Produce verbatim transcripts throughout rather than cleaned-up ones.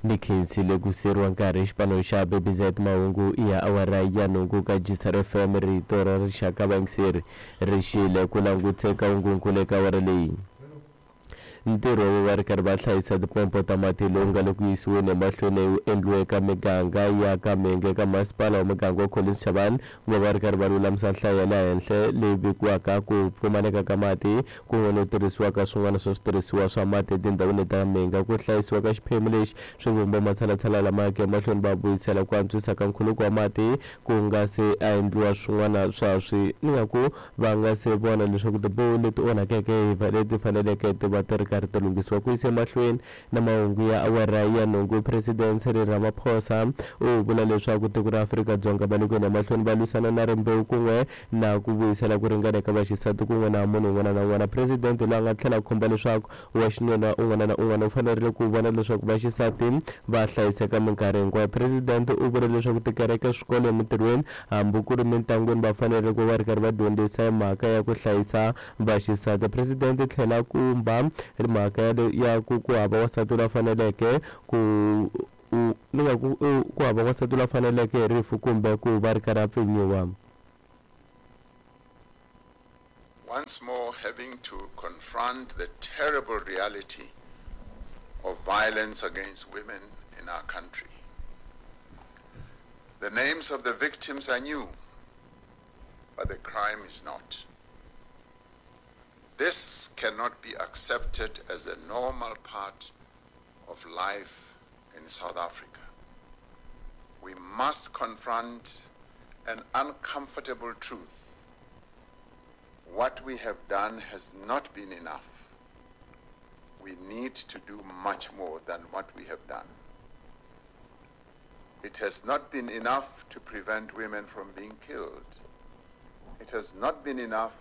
Ni khensile ku siyeriwa nkarhi xipano xa B B Z mahungu ya awara ya nhungu ka G S R F M rito ra rixaka vayingiseri ri xile ku languteka hungunkulu eka awara leyi. Ntirho wo va ri karhi va hlayisa tipompo ta mati lowu nga le ku yisiweni emahlweni wu endliwe eka miganga ya ka Mhenge eka masipala wa muganga wa Collins Chabane ku va va ri karhi va lulamisa nhlayo ya le henhla leyi vekiwaka ku pfumaleka ka mati kun'we no tirhisiwa ka swin'wana swa switirhisiwa swa mati etindhawini ta Mhenge. Ku hlayisiwa ka xiphemu lexi swi vumba matshalatshala lama yaka emahlweni va vuyisela ku antswisa ka nkhuluko wa mati ku nga se a endliwa swin'wana swa swi ni nga ku va nga se vona leswaku tiboho leti onhakeke hi leti faneleke ti va ti ri karhi ti lunghisiwa. Ku yisa emahlweni na mahungu ya awara ya nhungu, President Cyril Ramaphosa u vula leswaku tiko ra Afrika-Dzonga va le ku yeni emahlweni va lwisana na rimbewu kun'we na ku vuyisela ku ringana eka vaxisati kun'we na munhu un'wana na un'wana. President loyi a nga tlhela a khumba leswaku wa xinuna un'wana na un'wana u fanerile ku vona leswaku vaxisati va hlayiseka minkarhi hinkwayo. President u vule leswaku tikereke, swikolo, emitirhweni hambi ku ri mintlangwini va fanerile ku va ri karhi va dyondzisa hi mhaka ya ku hlayisa vaxisati. President tlhela kumba mhaka ya ya ku ku hava wansati loyi a faneleke ku ni nga ku ku hava wansati loyi a faneleke hi rifu kumbe ku va ri karhi a pfinyiwa. Once more having to confront the terrible reality of violence against women in our country. The names of the victims are new, but the crime is not. This cannot be accepted as a normal part of life in South Africa. We must confront an uncomfortable truth. What we have done has not been enough. We need to do much more than what we have done. It has not been enough to prevent women from being killed. It has not been enough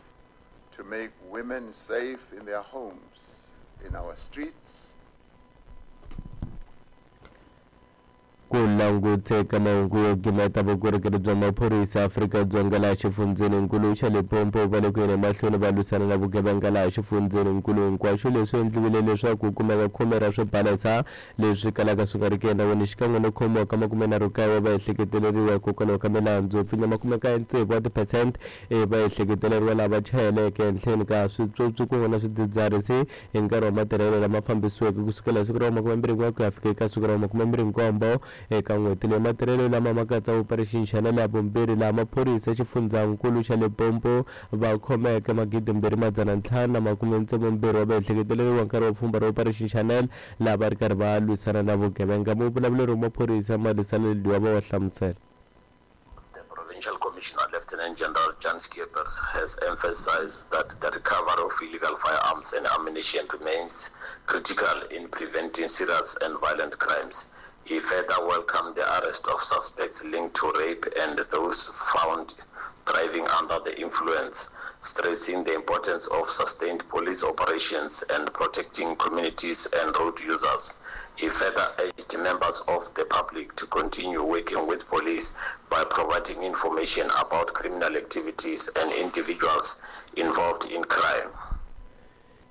to make women safe in their homes, in our streets. Ku languteka mahungu yo gimeta vukorhokeri bya maphorisa Afrika-Dzonga laha xifundzheninkulu xa Limpopo va le ku yeni emahlweni va lwisana na vugevenga laha xifundzheninkulu hinkwaxo. Leswi endliwile leswaku ku kumeka khume ra swibalesa leswi kalaka swi nga ri ki enawini xikan'we no khomiwa ka makumenharhu kaye wa vaehleketeleriwa hikokwalaho ka milandzu yo pfinya makumekaye tsevu wa tiphesente e vaehleketeleriwa lava chayeleke ehenhleni ka switswotswi kun'we na swidzidziharisi hi nkarhi wa matirhelo lama fambisiweke kusukela hi siku ra makumembirhi n'we ku ya fika eka siku ra makumembirhi nkombo eka n'hweti leyi. Matirhelo lama ma katsa Operation Shanela ya vumbirhi laha maphorisa xifundzankulu xa Limpopo va khomeke magidi mbirhi madzana ntlhanu na makume tsevu mbirhi wa vaehleketeleriwa nkarhi wa pfhumba ra Operation Shanela laha va ri karhi va lwisana na vugevenga. Muvulavuleri wa maphorisa Malisana Ledwaba wa hlamusela. Provincial Commissioner Lieutenant General Jan Schippers has emphasized that the recovery of illegal firearms and ammunition remains critical in preventing serious and violent crimes. He further welcomed the arrest of suspects linked to rape and those found driving under the influence, stressing the importance of sustained police operations and protecting communities and road users. He further urged members of the public to continue working with police by providing information about criminal activities and individuals involved in crime.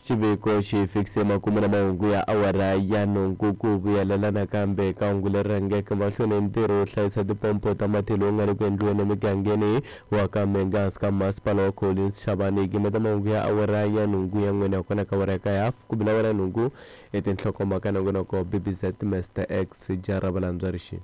Xiviko xi fikise makumu na mahungu ya awara ya nhungu ku vuyelela nakambe ka hungu leri rhangeke mahlweni ntirho wo hlayisa tipompo ta mati lowu nga le ku endliweni emigangeni wa ka Mhenge hansi ka masipala wa Collins Chabane. Gimeta mahungu ya awara ya nhungu ya n'wina kona ka awara ya kaye hafu ku bila awara ya nhungu etinhlokomhaka nongonoko B B Z Master X Jara Valandzwa Rixini.